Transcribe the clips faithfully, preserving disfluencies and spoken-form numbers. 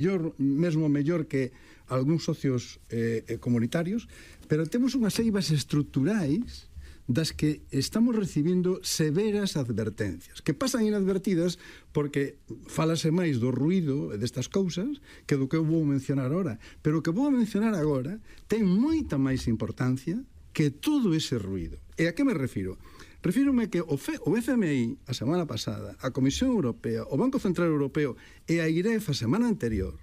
mellor, mesmo mellor que algúns socios eh, comunitarios, pero temos unhas eivas estruturais das que estamos recibindo severas advertencias, que pasan inadvertidas porque falase máis do ruído destas cousas que do que eu vou mencionar agora, pero o que vou mencionar agora ten moita máis importancia que todo ese ruído. E a que me refiro? Refírome que o F M I a semana pasada, a Comisión Europea, o Banco Central Europeo e a I R E F a semana anterior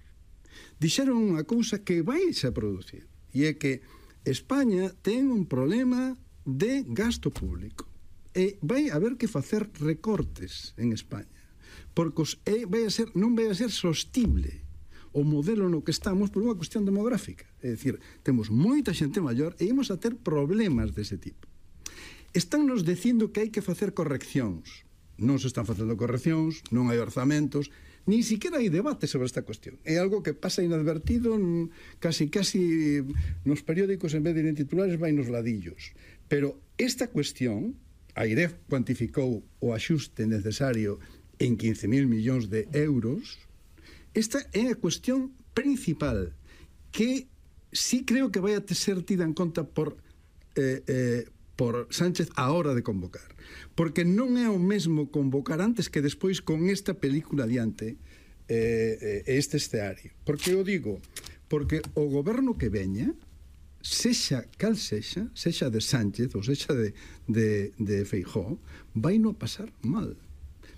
dixeron unha cousa que vai a producir, e é que España ten un problema de gasto público e vai haber que facer recortes en España porque os, e vai a ser, non vai a ser sostible o modelo no que estamos por unha cuestión demográfica, é dicir, temos moita xente maior e imos a ter problemas dese tipo. Están nos dicindo que hai que facer correccións. Non se están facendo correccións, non hai orzamentos, nin siquiera hai debate sobre esta cuestión. É algo que pasa inadvertido casi casi nos periódicos, en vez de ir en titulares, vai nos ladillos. Pero esta cuestión, a I R E F cuantificou o axuste necesario en quince mil millóns de euros, esta é a cuestión principal que sí creo que vai a ser tida en conta por eh, eh, por Sánchez a hora de convocar, porque non é o mesmo convocar antes que despois con esta película adiante eh, este escenario. Porque eu digo, porque o goberno que veña, sexa cal sexa, sexa de Sánchez ou sexa de, de, de Feijóo, vai non pasar mal,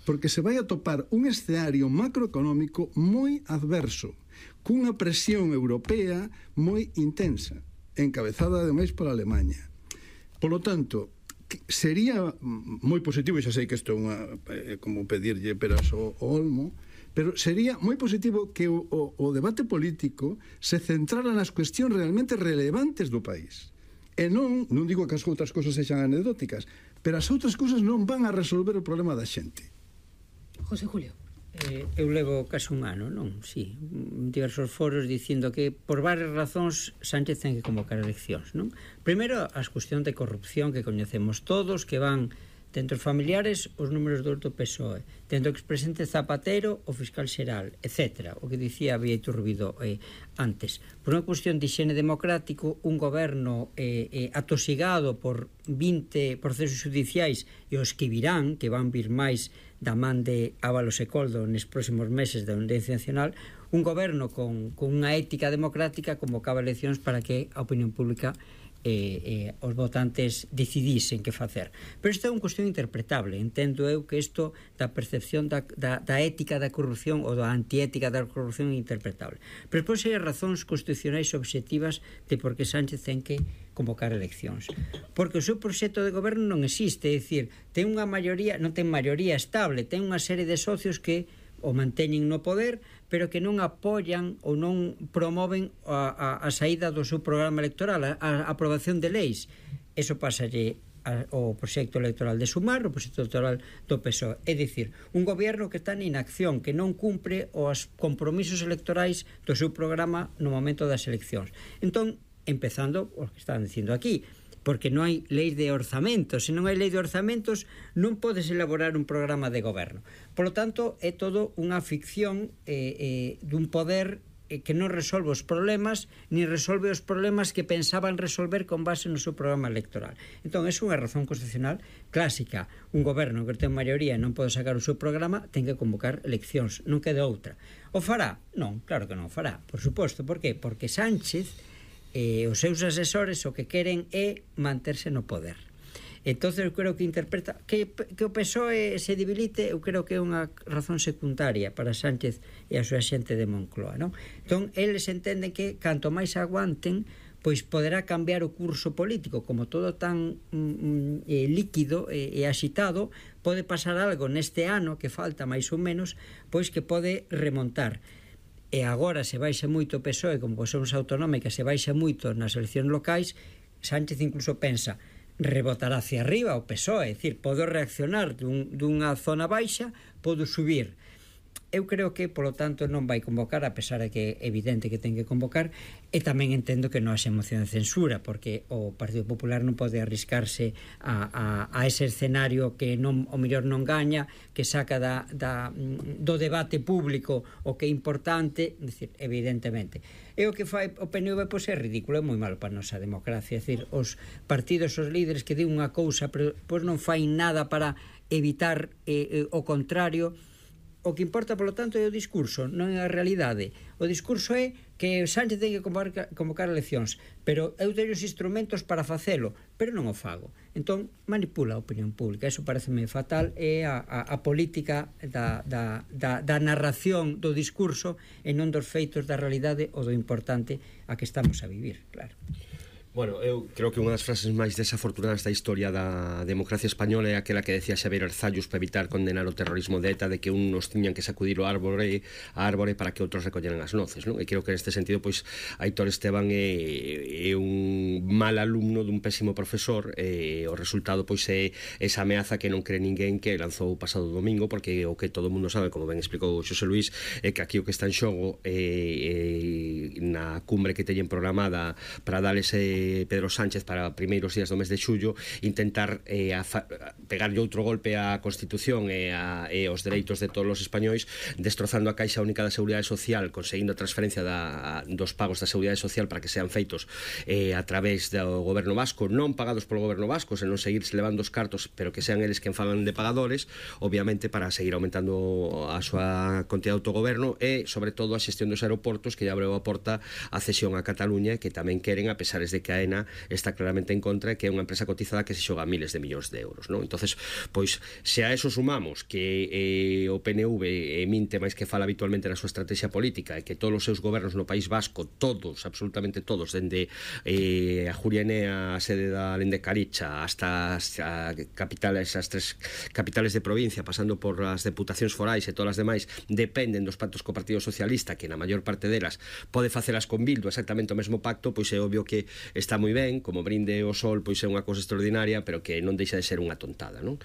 porque se vai a topar un escenario macroeconómico moi adverso, cunha presión europea moi intensa, encabezada ademais por Alemanha. Por lo tanto, sería moi positivo, e xa sei que isto é unha, é como pedirlle peras ao, ao olmo, pero sería moi positivo que o, o, o debate político se centrara nas cuestións realmente relevantes do país. E non, non digo que as outras cousas sexan anecdóticas, pero as outras cousas non van a resolver o problema da xente. José Julio. Eh, eu levo casi un ano, non? Sí, diversos foros dicindo que por varias razóns Sánchez ten que convocar eleccións, non? Primeiro, as cuestións de corrupción que coñecemos todos, que van dentro dos familiares os números do P S O E, dentro do expresidente Zapatero o fiscal xeral, etcétera. O que dicía Bieito Rubido eh, antes. Por unha cuestión de higiene democrático, un goberno eh, eh, atosigado por vinte procesos judiciais e os que virán, que van vir máis da man de Ábalos e Coldo nos próximos meses da Audiencia Nacional, un goberno con, con unha ética democrática convocaba eleccións para que a opinión pública eh, eh, os votantes decidisen que facer. Pero isto é unha cuestión interpretable. Entendo eu que isto da percepción da, da, da ética da corrupción ou da antiética da corrupción é interpretable. Pero depois hai razóns constitucionais obxectivas de por que Sánchez ten que convocar eleccións. Porque o seu proxecto de goberno non existe, é dicir, ten unha maioría, non ten maioría estable, ten unha serie de socios que o manteñen no poder, pero que non apoian ou non promoven a, a, a saída do seu programa electoral, a, a aprobación de leis. Eso pasalle ao proxecto electoral de Sumar, o proxecto electoral do P S O E. É dicir, un goberno que está en inacción, que non cumpre os compromisos electorais do seu programa no momento das eleccións. Entón, empezando o que están dicindo aquí, porque non hai lei de orzamentos. Se non hai lei de orzamentos, non podes elaborar un programa de goberno. Por lo tanto, é todo unha ficción eh, eh, dun poder eh, que non resolve os problemas, ni resolve os problemas que pensaban resolver con base no seu programa electoral. Entón, é unha razón constitucional clásica. Un goberno que ten maioría e non pode sacar o seu programa, ten que convocar eleccións, non queda outra. O fará? Non, claro que non o fará, por suposto. Por qué? Porque Sánchez e os seus asesores o que queren é manterse no poder. Entonces eu creo que interpreta que, que o P S O E se debilite, eu creo que é unha razón secundaria para Sánchez e a súa xente de Moncloa, non? Entón, eles entenden que canto máis aguanten, pois poderá cambiar o curso político. Como todo tan mm, eh, líquido e, e axitado, pode pasar algo neste ano que falta máis ou menos, pois que pode remontar. E agora se baixa moito o P S O E, como son as autonómicas, se baixa moito nas eleccións locais, Sánchez incluso pensa rebotar hacia arriba o P S O E, é dicir, podo reaccionar dun, dunha zona baixa, podo subir. eu creo que, polo tanto, non vai convocar, a pesar de que é evidente que ten que convocar, e tamén entendo que non haxe moción de censura, porque o Partido Popular non pode arriscarse a, a, a ese escenario que non, o mellor non gaña, que saca da, da, do debate público o que é importante, decir, evidentemente. E o que fai o P N V pois é ridículo, é moi malo para a nosa democracia, é dicir, os partidos, os líderes que din unha cousa, pero pois non fai nada para evitar eh, eh, o contrario. O que importa, polo tanto, é o discurso, non é a realidade. O discurso é que Sánchez ten que convocar, convocar eleccións, pero eu teño os instrumentos para facelo, pero non o fago. Entón, manipula a opinión pública. Eso pareceme fatal, é a, a, a política da, da, da, da narración do discurso e non dos feitos da realidade ou do importante a que estamos a vivir, claro. Bueno, eu creo que unha das frases máis desafortunadas da historia da democracia española é aquela que decía Xavier Arzallus para evitar condenar o terrorismo de ETA, de que uns tiñan que sacudir o árbore a árbore para que outros recolleran as noces, non? E creo que neste sentido, pois, Aitor Esteban é, é un mal alumno dun pésimo profesor, e o resultado, pois, é esa ameaza que non cree ninguén que lanzou o pasado domingo, porque o que todo o mundo sabe, como ben explicou Xosé Luís, é que aquí o que está en xogo é, é na cumbre que teñen programada para dar ese Pedro Sánchez para primeiros días do mes de xullo, intentar eh, a fa, pegarlle outro golpe á Constitución e, a, e aos dereitos de todos os españois, destrozando a Caixa Única da Seguridade Social, conseguindo a transferencia da, dos pagos da Seguridade Social para que sean feitos eh, a través do goberno vasco, non pagados polo goberno vasco, senón seguirse levando os cartos, pero que sean eles quen falan de pagadores, obviamente para seguir aumentando a súa contida de autogoberno, e sobre todo a xestión dos aeroportos, que lle abreu a porta a cesión a Cataluña, que tamén queren, a pesares de que a AENA está claramente en contra, que é unha empresa cotizada que se xoga miles de millóns de euros, non? Entonces, pois, se a eso sumamos que eh, o P N V eh, minte máis que fala habitualmente na súa estrategia política, e que todos os seus gobernos no País Vasco, todos, absolutamente todos, dende eh, a Jurienea, a sede da Lendecaricha, hasta as a capitales, as tres capitales de provincia, pasando por as deputacións forais e todas as demais, dependen dos pactos co Partido Socialista, que na maior parte delas pode facelas con Bildu exactamente o mesmo pacto, pois é obvio que está moi ben, como brinde o sol, pois é unha cousa extraordinaria, pero que non deixa de ser unha tontada, non?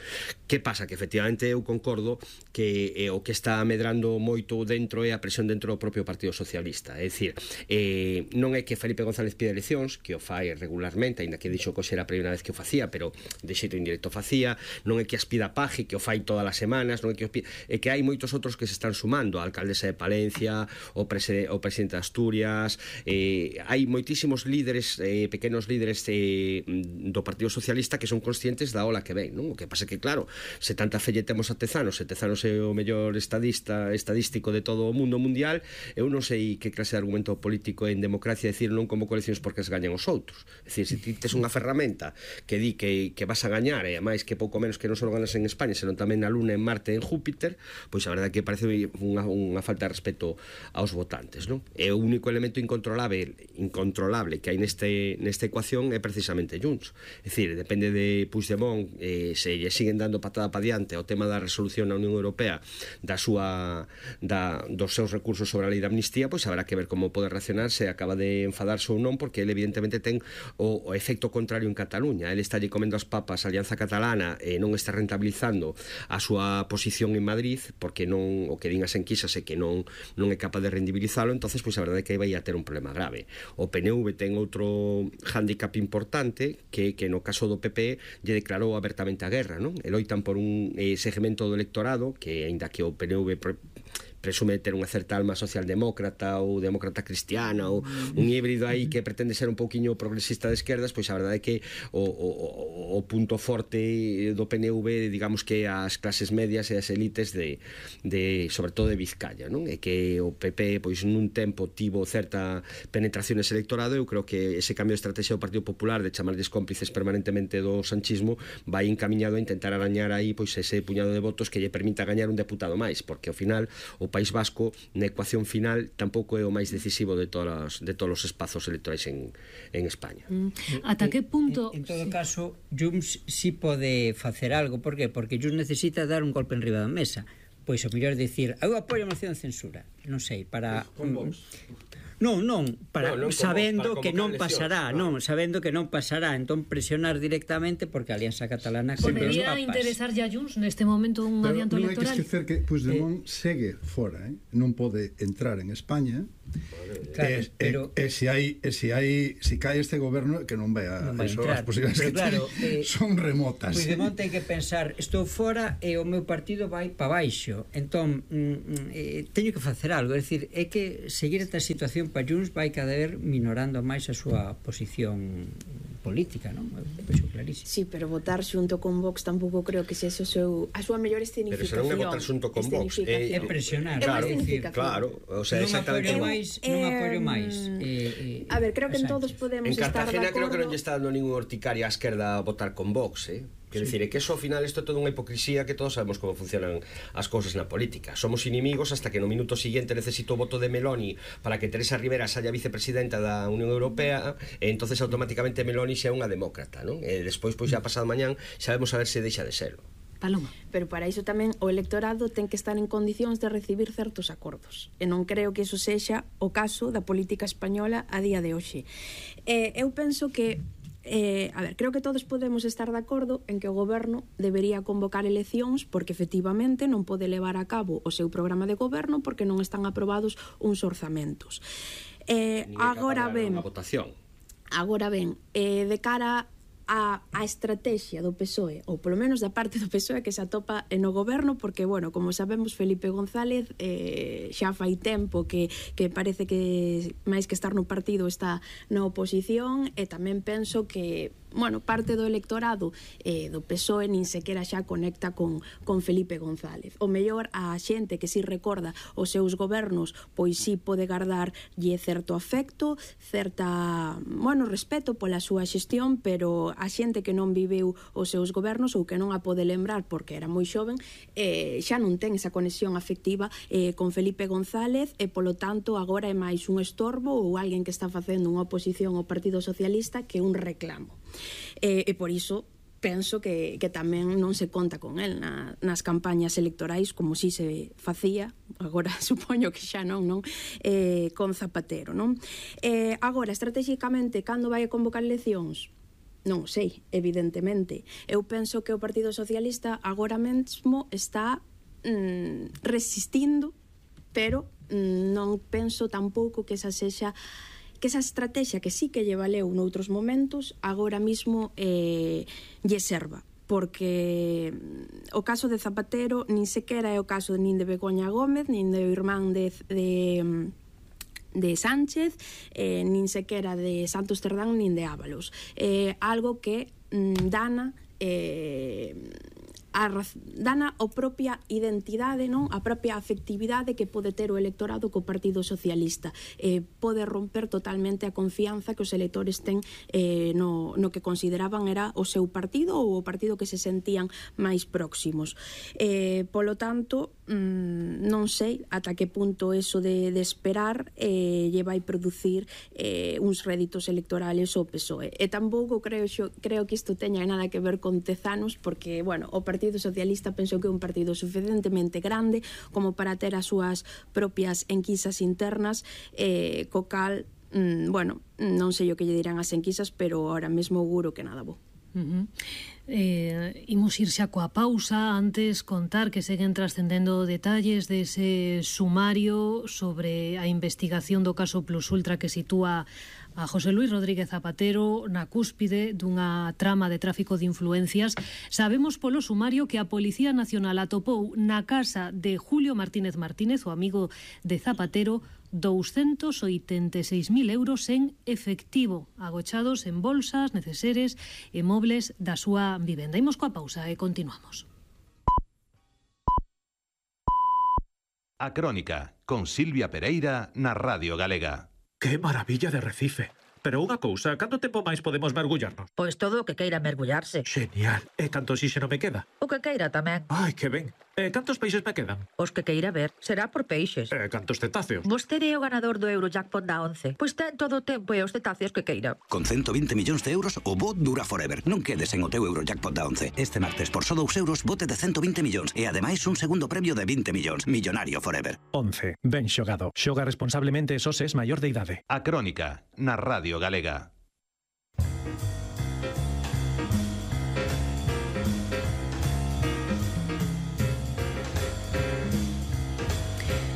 Que pasa? Que efectivamente eu concordo que eh, o que está medrando moito dentro é a presión dentro do propio Partido Socialista, é dicir, eh, non é que Felipe González pide eleccións, que o fai regularmente, ainda que dixo que era a primeira vez que o facía, pero de xeito indirecto facía, non é que as pida Paje, que o fai todas as semanas, non é que o pida, é que hai moitos outros que se están sumando, a alcaldesa de Palencia, o, prese, o presidente de Asturias, eh, hai moitísimos líderes, eh, pequenos líderes eh, do Partido Socialista que son conscientes da ola que ven, non? O que pasa que, claro, se tanta felle temos a Tezanos, se Tezanos é o mellor estadista estadístico de todo o mundo mundial, eu non sei que clase de argumento político en democracia decir non como coleccións porque as gañan os outros. É dicir, se ti tes unha ferramenta que di que, que vas a gañar, e máis que pouco menos que non só ganas en España, senón tamén na Luna, en Marte, en Júpiter, pois a verdade que parece unha, unha falta de respeto aos votantes, non? É o único elemento incontrolable, incontrolable que hai neste, nesta ecuación é precisamente Junts. É dicir, depende de Puigdemont, eh, se lle siguen dando patada para diante ao tema da resolución na Unión Europea da súa, da, dos seus recursos sobre a lei de amnistía, pois habrá que ver como pode reaccionar, se acaba de enfadarse ou non, porque ele evidentemente ten o, o efecto contrario en Cataluña. Ele está lle comendo as papas a Alianza Catalana e non está rentabilizando a súa posición en Madrid, porque non, o que din as enquisas é que non, non é capaz de rendibilizalo. Entonces, pois a verdade é que vai a ter un problema grave. O P N V ten outro hándicap importante, que, que no caso do P P lle declarou abertamente a guerra, non? E loitan por un eh, segmento do electorado que, aínda que o P N V pre, presume ter unha certa alma socialdemócrata ou demócrata cristiana ou un híbrido aí que pretende ser un pouquiño progresista de esquerdas, pois a verdade é que o, o, o punto forte do P N V, digamos que as clases medias e as elites de, de sobre todo de Vizcaya, non? E que o P P pois nun tempo tivo certa penetración nese electorado. Eu creo que ese cambio de estrategia do Partido Popular de chamarles cómplices permanentemente do sanchismo vai encamiñado a intentar arañar aí pois ese puñado de votos que lle permita gañar un deputado máis, porque ao final o País Vasco na ecuación final tampouco é o máis decisivo de todos de todos os espazos electorais en, en España. Mm. Ata que punto? En, en, en todo sí. caso, Junts sí pode facer algo. Por qué? Porque Junts necesita dar un golpe en riba da mesa. Pois o mellor dicir, eu apoio a moción de censura. non sei, para... Con Vox. Non, non, para, no, non sabendo para que non convocar pasará, eleccións, non, sabendo que non pasará, entón presionar directamente porque a Alianza Catalana sempre os Podería papas. interesar a Junts neste momento un Pero adianto non hai que electoral? esquecer que Puigdemont eh. segue fora, eh? non pode entrar en España. Claro, e, pero- e, e se hai e se hai se cae este goberno que non vai a Non vai eso, entrar. as posibilidades Pero que claro, ten eh, son remotas. Puigdemont ten que pensar, estou fora e o meu partido vai para baixo. Entón, mm, eh, teño que facer algo, é dicir, é que seguir esta situación para Junts vai cada vez minorando máis a súa posición política, non? Eu vexo clarísimo. Sí, pero votar xunto con Vox tampouco creo que sexa o seu a súa mellor Pero se escenificación. non é votar xunto con Vox, É é, presionar, É unha é dicir, escenificación. claro, o sea, non exactamente. apoio Eu- máis, non eh, apoio máis. Eh, eh, A ver, creo que en a todos Sánchez. podemos En estar de Cartagena creo que non acordo. lle está dando ningún horticaria á esquerda a votar con Vox, eh? Quero dicir, é que eso ao final isto é toda unha hipocrisía que todos sabemos como funcionan as cousas na política. Somos inimigos hasta que no minuto siguiente necesito o voto de Meloni para que Teresa Rivera saia vicepresidenta da Unión Europea e entonces automáticamente Meloni xa é unha demócrata, non? E despois, pois xa pasado mañán, sabemos a ver se deixa de serlo. Paloma. Pero para iso tamén o electorado ten que estar en condicións de recibir certos acordos. E non creo que iso sexa o caso da política española a día de hoxe. Eh, eu penso que Eh, a ver, creo que todos podemos estar de acordo en que o goberno debería convocar eleccións porque efectivamente non pode levar a cabo o seu programa de goberno porque non están aprobados uns orzamentos. Eh, Nin é capaz agora de dar ben, unha votación. agora ben, eh, de cara a, a estrategia do P S O E, ou polo menos da parte do P S O E que se atopa no goberno, porque, bueno, como sabemos, Felipe González eh, xa fai tempo que, que parece que máis que estar no partido está na oposición, e tamén penso que bueno, parte do electorado eh, do P S O E nin sequera xa conecta con, con Felipe González. O mellor a xente que si recorda os seus gobernos, pois si pode guardarlle certo afecto, certa, bueno, respeto pola súa xestión, pero a xente que non viveu os seus gobernos ou que non a pode lembrar porque era moi xoven, eh, xa non ten esa conexión afectiva eh, con Felipe González e, polo tanto, agora é máis un estorbo ou alguén que está facendo unha oposición ao Partido Socialista que un reclamo. E, e por iso penso que, que tamén non se conta con el na, nas campañas electorais como si se facía, agora supoño que xa non, non? Eh, con Zapatero, non? Eh, agora, estratégicamente, cando vai a convocar eleccións? Non sei, evidentemente. Eu penso que o Partido Socialista agora mesmo está mm, resistindo, pero mm, non penso tampouco que esa sexa que esa estrategia que sí que lle valeu noutros momentos agora mismo eh, lle serva, porque o caso de Zapatero nin sequera é o caso nin de Begoña Gómez nin do irmán de, de de Sánchez, eh, nin sequera de Santos Cerdán nin de Ábalos. Eh, algo que mm, dana eh, a, dana a propia identidade, non? A propia afectividade que pode ter o electorado co Partido Socialista. Eh, pode romper totalmente a confianza que os electores ten eh, no, no que consideraban era o seu partido ou o partido que se sentían máis próximos. Eh, polo tanto, mm, non sei ata que punto eso de, de esperar eh, lle vai producir eh, uns réditos electorales ao P S O E. E tampouco creo, xo, creo que isto teña nada que ver con Tezanos, porque, bueno, o Partido Socialista penso que é un partido suficientemente grande como para ter as súas propias enquisas internas, eh, co cal, mm, bueno, non sei o que lle dirán as enquisas, pero ahora mesmo auguro que nada bo. Uh-huh. Eh, imos ir xa coa pausa. Antes contar que seguen trascendendo detalles dese sumario sobre a investigación do caso Plus Ultra que sitúa a José Luis Rodríguez Zapatero na cúspide dunha trama de tráfico de influencias. Sabemos polo sumario que a Policía Nacional atopou na casa de Julio Martínez Martínez, o amigo de Zapatero, doscientos oitenta e seis mil euros en efectivo, agochados en bolsas, neceseres e mobles da súa vivenda. Imos coa pausa e continuamos. A Crónica, con Silvia Pereira na Radio Galega. ¡Qué maravilla de Recife! Pero unha cousa, canto tempo máis podemos mergullarnos? Pois todo o que queira mergullarse. Genial. E canto oxígeno me queda? O que queira tamén. Ai, que ben. E cantos peixes me quedan? Os que queira ver. Será por peixes. E cantos cetáceos? Vostede é o ganador do Eurojackpot da once. Pois ten todo o tempo e os cetáceos que queira. Con ciento veinte millóns de euros, o bo dura forever. Non quedes en o teu Eurojackpot da once. Este martes, por só dous euros, bote de ciento veinte millóns. E ademais un segundo premio de veinte millóns. Millonario forever. once. Ben xogado. Xoga responsablemente e só se es maior de idade. A Crónica, na Radio Galega.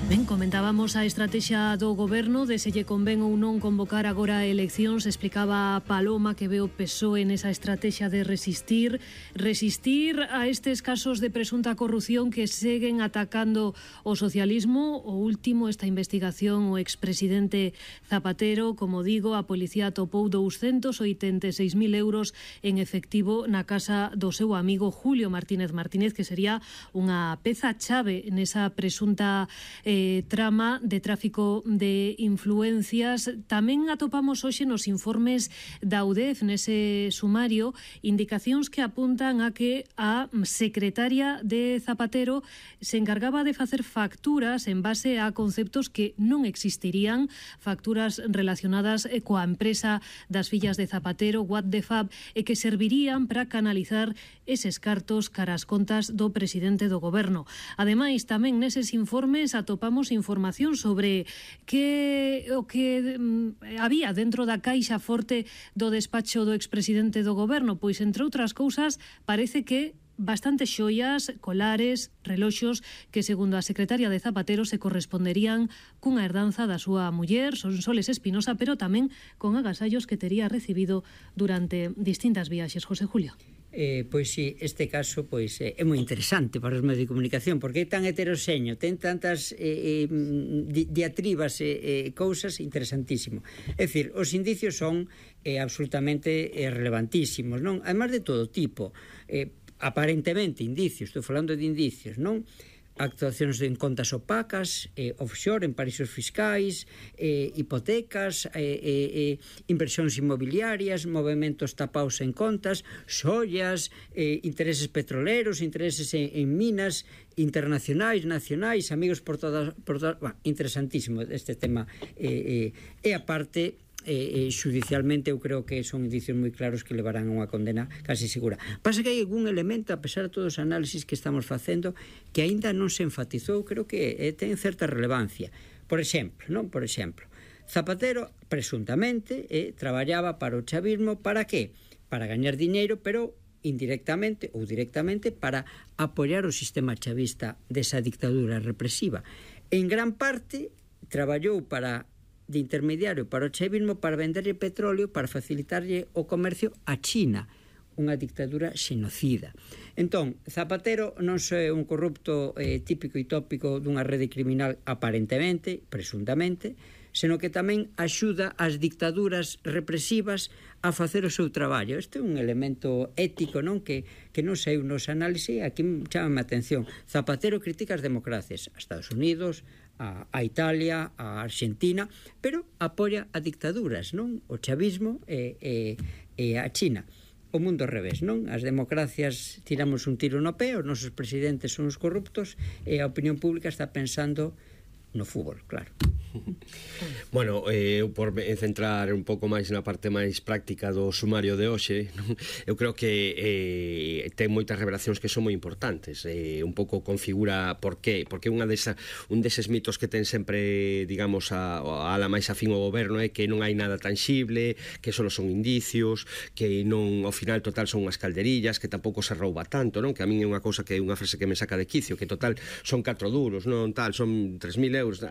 Ben, comentábamos a estrategia do goberno de se lle convén ou non convocar agora eleccións. Explicaba Paloma que ve o P S O E nesa estrategia de resistir resistir a estes casos de presunta corrupción que seguen atacando o socialismo. O último, esta investigación, o expresidente Zapatero, como digo, a policía atopou douscentos oitenta e seis mil euros en efectivo na casa do seu amigo Julio Martínez Martínez, que sería unha peza chave nesa presunta eh, trama de tráfico de influencias. Tamén atopamos hoxe nos informes da U D E F, nese sumario, indicacións que apuntan a que a secretaria de Zapatero se encargaba de facer facturas en base a conceptos que non existirían, facturas relacionadas coa empresa das fillas de Zapatero, What the Fab, e que servirían para canalizar eses cartos cara as contas do presidente do goberno. Ademais, tamén neses informes atopamos información sobre que o que mm, había dentro da caixa forte do despacho do expresidente do goberno. Pois, entre outras cousas, parece que bastantes xoias, colares, reloxos que, segundo a secretaria de Zapatero, se corresponderían cunha herdanza da súa muller, Sonsoles Espinosa, pero tamén con agasallos que tería recibido durante distintas viaxes. José Julio. Eh, pois si, sí, este caso pois eh, é moi interesante para os medios de comunicación porque é tan heteroxeño, ten tantas eh, eh, di diatribas e eh, eh, cousas interesantísimo. É dicir, os indicios son eh, absolutamente eh, relevantísimos, non? Además de todo tipo, eh, aparentemente indicios, estou falando de indicios, non? Actuacións en contas opacas, eh, offshore, en paraísos fiscais, eh, hipotecas, eh, eh, inversións inmobiliarias, movimentos tapaos en contas, xoias, eh, intereses petroleros, intereses en, en minas internacionais, nacionais, amigos por todas... Por todas bueno, interesantísimo este tema. Eh, eh, e aparte... Eh, eh, judicialmente eu creo que son indicios moi claros que levarán a unha condena casi segura. Pasa que hai algún elemento, a pesar de todos os análisis que estamos facendo, que aínda non se enfatizou, creo que eh, ten certa relevancia. Por exemplo, non? Por exemplo, Zapatero, presuntamente, eh, traballaba para o chavismo, para que? Para gañar diñeiro, pero indirectamente ou directamente para apoiar o sistema chavista desa dictadura represiva. En gran parte, traballou para de intermediario para o chavismo para venderlle petróleo, para facilitarlle o comercio a China, unha dictadura xenocida. Entón, Zapatero non só é un corrupto eh, típico e tópico dunha rede criminal aparentemente, presuntamente, senón que tamén axuda as dictaduras represivas a facer o seu traballo. Este é un elemento ético, non? Que, que non sei nos análisis, aquí chamame a atención. Zapatero critica as democracias, a Estados Unidos, a, a Italia, a Argentina, pero apoia a dictaduras, non? O chavismo e, e, e a China. O mundo ao revés, non? As democracias tiramos un tiro no pé, os nosos presidentes son os corruptos e a opinión pública está pensando no fútbol, claro. Bueno, eu eh, por me centrar un pouco máis na parte máis práctica do sumario de hoxe, non? Eu creo que eh, ten moitas revelacións que son moi importantes, eh, un pouco configura por qué, porque unha desa, un deses mitos que ten sempre, digamos, a, a ala máis afín ao goberno é que non hai nada tangible, que só son indicios, que non, ao final total son unhas calderillas, que tampouco se rouba tanto, non? Que a min é unha cousa que é unha frase que me saca de quicio, que total son catro duros, non tal, son tres mil euros,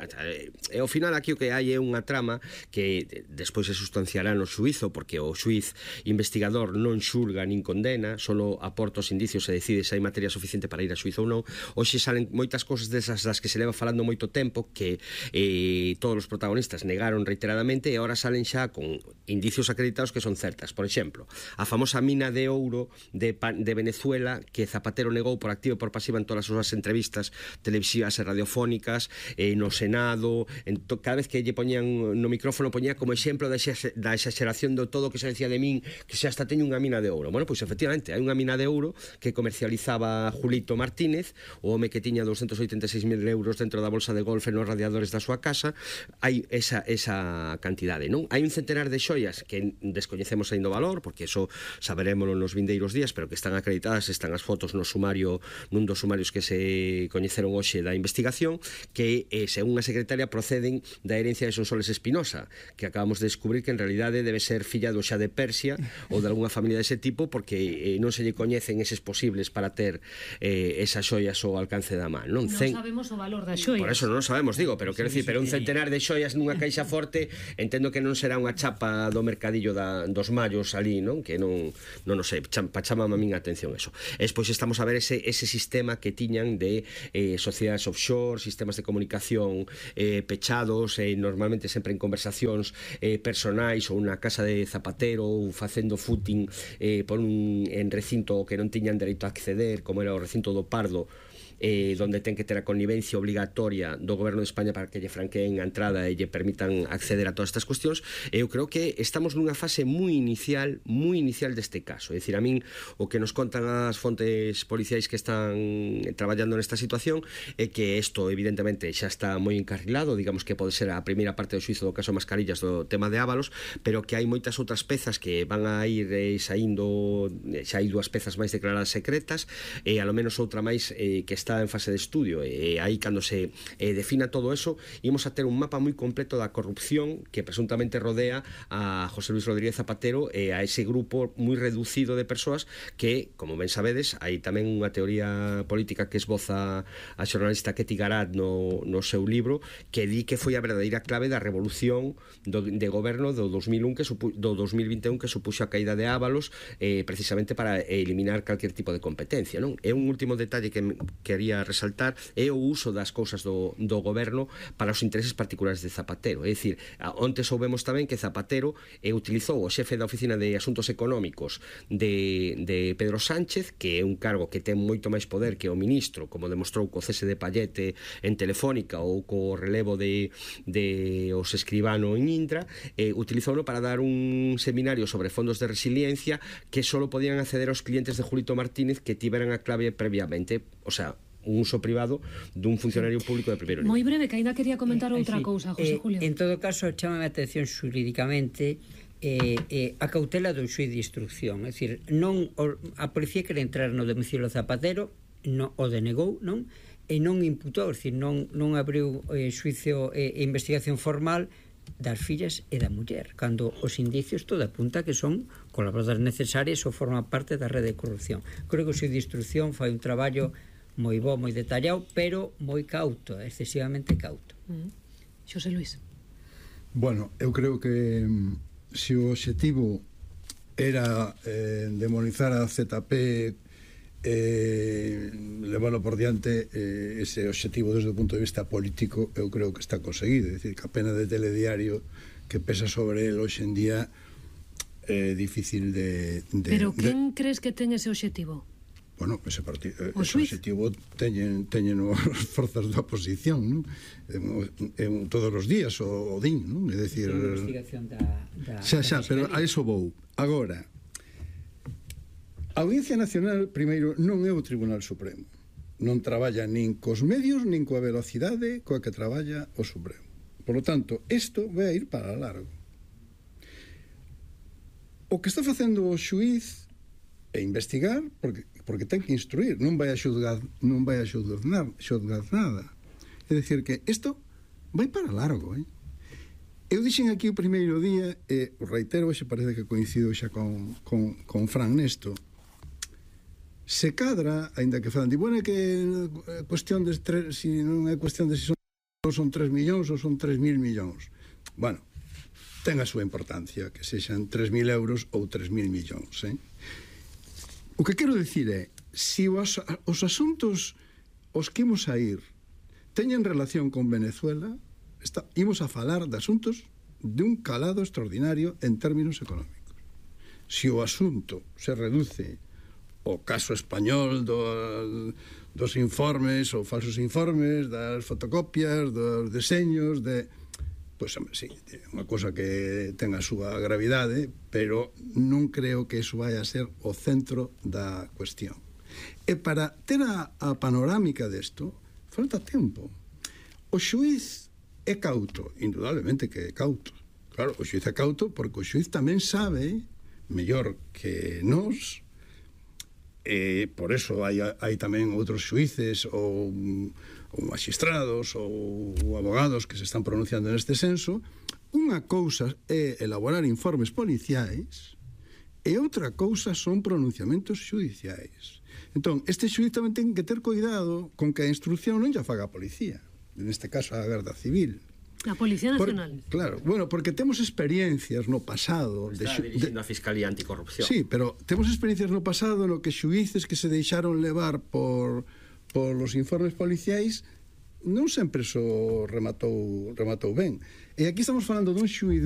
e ao final aquí o que hai é unha trama que despois se sustanciará no xuízo, porque o xuiz investigador non xulga nin condena, solo aporta os indicios e decide se hai materia suficiente para ir a xuízo ou non. Hoxe salen moitas cousas desas das que se leva falando moito tempo que eh, todos os protagonistas negaron reiteradamente e agora salen xa con indicios acreditados que son certas. Por exemplo, a famosa mina de ouro de, de Venezuela que Zapatero negou por activa e por pasiva en todas as súas entrevistas televisivas e radiofónicas, eh, no Senado, en to, cada vez que lle poñían no micrófono poñía como exemplo da, exa, da exageración de todo o que se decía de min, que se hasta teño unha mina de ouro. Bueno, pois efectivamente, hai unha mina de ouro que comercializaba Julito Martínez, o home que tiña doscientos oitenta e seis mil euros dentro da bolsa de golfe nos radiadores da súa casa. Hai esa, esa cantidade, non? Hai un centenar de xoias que descoñecemos ainda o valor, porque eso saberémolo nos vindeiros días, pero que están acreditadas, están as fotos no sumario, nun dos sumarios que se coñeceron hoxe da investigación, que, eh, según a secretaria, proceden da herencia de Sonsoles Espinosa, que acabamos de descubrir que en realidade debe ser filla do xa de Persia ou de algunha familia dese tipo, porque eh, non se lle coñecen eses posibles para ter eh, esas xoias ao alcance da man, non? Non Cen... sabemos o valor das xoias. Por eso non sabemos, digo, pero quero dicir, pero un centenar de xoias nunha caixa forte, entendo que non será unha chapa do mercadillo da, dos mallos ali, non? Que non, non, non sei, pa chamame a min a atención eso. Espois estamos a ver ese, ese sistema que tiñan de eh, sociedades offshore, sistemas de comunicación eh, pechados, eh, normalmente sempre en conversacións eh, personais ou unha casa de zapatero ou facendo footing eh, por un en recinto que non tiñan dereito a acceder, como era o recinto do Pardo, eh, donde ten que ter a connivencia obligatoria do goberno de España para que lle franqueen a entrada e lle permitan acceder a todas estas cuestións. Eu creo que estamos nunha fase moi inicial, moi inicial deste caso. É dicir, a min o que nos contan as fontes policiais que están traballando nesta situación é que isto evidentemente xa está moi encarrilado, digamos que pode ser a primeira parte do xuizo do caso Mascarillas do tema de Ábalos, pero que hai moitas outras pezas que van a ir eh, saindo, xa hai dúas pezas máis declaradas secretas e a lo menos outra máis eh, que está está en fase de estudio, e aí cando se eh, defina todo eso, ímos a ter un mapa moi completo da corrupción que presuntamente rodea a José Luis Rodríguez Zapatero e a ese grupo moi reducido de persoas que, como ben sabedes, hai tamén unha teoría política que esboza a xornalista Ketty Garat no, no seu libro, que di que foi a verdadeira clave da revolución do, de goberno do dos mil un que supu, do dos mil vinte e un que supuxo a caída de Ábalos, eh, precisamente para eliminar calquer tipo de competencia, non? É un último detalle que, que quería resaltar é o uso das cousas do, do goberno para os intereses particulares de Zapatero. É dicir, onte soubemos tamén que Zapatero eh, utilizou o xefe da Oficina de Asuntos Económicos de, de Pedro Sánchez, que é un cargo que ten moito máis poder que o ministro, como demostrou co cese de Pallete en Telefónica ou co relevo de, de os escribano en Indra, eh, utilizouno para dar un seminario sobre fondos de resiliencia que só podían acceder aos clientes de Julito Martínez que tiveran a clave previamente, o sea, un uso privado dun funcionario público de primeiro nivel. Moi breve, que ainda quería comentar eh, outra sí, cousa, José eh, Julio. En todo caso, chámame a atención xurídicamente eh, eh, a cautela do xuiz de instrucción. É dicir, non, o, a policía quere entrar no domicilio Zapatero, no, o denegou, non? E non imputou, é dicir, non, non abriu eh, xuicio e eh, investigación formal das fillas e da muller, cando os indicios todo apunta que son colaboradoras necesarias ou forman parte da rede de corrupción. Creo que o xuiz de instrucción fai un traballo moi bo, moi detallado, pero moi cauto, excesivamente cauto. Mm. Xosé Luis. Bueno, eu creo que se o objetivo era eh, demonizar a Z P, eh, leválo por diante, eh, ese objetivo desde o punto de vista político, eu creo que está conseguido. É dicir, que a pena de telediario que pesa sobre el hoxe en día é eh, difícil de, de... Pero quen de... crees que ten ese objetivo? Bueno, ese, partido, ese objetivo teñen, teñen as forzas da oposición, non? Eh, todos os días o, o din, non? É dicir, investigación da, da, xa, xa, da pero a eso vou. Agora, a Audiencia Nacional, primeiro, non é o Tribunal Supremo. Non traballa nin cos medios, nin coa velocidade coa que traballa o Supremo. Por lo tanto, isto vai a ir para largo. O que está facendo o xuiz é investigar, porque, porque ten que instruir, non vai a xudgar, non vai a xudgar, xudgar nada. É dicir que isto vai para largo, eh? Eu dixen aquí o primeiro día, e reitero, xe parece que coincido xa con, con, con Fran nesto, se cadra, aínda que falan, di, bueno, é que é cuestión de tres, si non é cuestión de si son, son tres millóns ou son tres mil millóns. Bueno, ten a súa importancia, que sexan tres mil euros ou tres mil millóns, eh? O que quero dicir é, se os, os asuntos os que imos a ir teñen relación con Venezuela, está, imos a falar de asuntos de un calado extraordinario en términos económicos. Se o asunto se reduce o caso español do, dos informes ou falsos informes, das fotocopias, dos deseños, de... Pois, hombre, sí, é unha cosa que ten a súa gravidade, pero non creo que iso vai a ser o centro da cuestión. E para ter a, a panorámica desto, falta tempo. O xuiz é cauto, indudablemente que é cauto. Claro, o xuiz é cauto porque o xuiz tamén sabe, mellor que nós, e por eso hai, hai tamén outros xuíces ou, ou magistrados ou abogados que se están pronunciando neste senso. Unha cousa é elaborar informes policiais e outra cousa son pronunciamentos xudiciais. Entón, este xuiz tamén ten que ter cuidado con que a instrucción non lla faga a policía, neste caso a Garda Civil. A Policía Nacional. Por, claro, bueno, porque temos experiencias no pasado. Está de, dirigindo de, a Fiscalía Anticorrupción. Sí, pero temos experiencias no pasado no que xuíces que se deixaron levar por, por los informes policiais non sempre so rematou, rematou ben. E aquí estamos falando dun xuiz